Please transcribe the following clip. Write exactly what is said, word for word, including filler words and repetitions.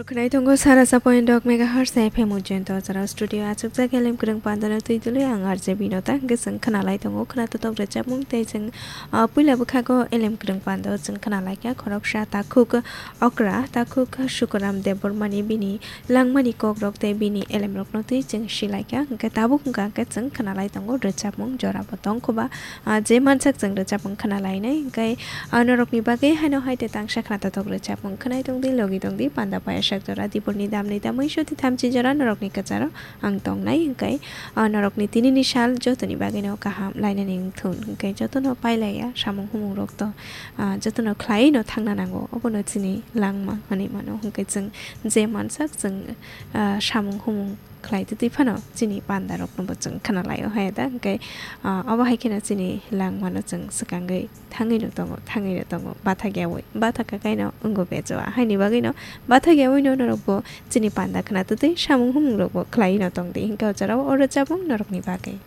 Khwnai tongo sara sa point dok megahertz F M Ujjain to jora studio achukjak elem kwrwng pandano twi dului ang R J Binota hwnkhe chwng khwnalai tongo khwnatok rwchapmung tei chwng, ah, puila bwkhago elem kwrwng pando chwng khwnalaikha khoroksa takhuk okra takhuk Sukuram Debbarmani bini langmani kokrok tei bini elemrokno twi chwng silaikha hwnkhe tabuk hwnkha hwnkhe chwng khwnalai tongo rwchapmung jorabo tongkhoba, ah, je mansak chwng rwchapmung khwnalainai hwnkhe, ah, norokni bagwi haino hai tei tangsa khwnatok rwchapmung khwnai tongdi logi tongdi panda payasak jora diporni damni damwi soti thamchi jora norokni kwcharo ang tongnai hwnkhe, ah, norokni tinini sal jotoni bagwino kaham lainani wngthun hwnkhe jotono pailaiya samung humung rokto, ah, jotono khlaiwino thangna nango obono chini langma hwnwi mano hwnkhe chwng je mansak chwng, ah, samung humung khlai twi twi phano chini panda rokno bo chwng khwnalaio hai da hwnkhe, ah, obo hai kheno chini langmano chwng swkangwi thangwino tongo thangwino tongo bathakyawi bathakya kaino wngo bejoa haini bagwino bathakyawino norokbo chini panda khwna twi twi samung humung rokbo khlaiwino tongdi hwnkhe o jorao o rwchapmung norokni bagwi.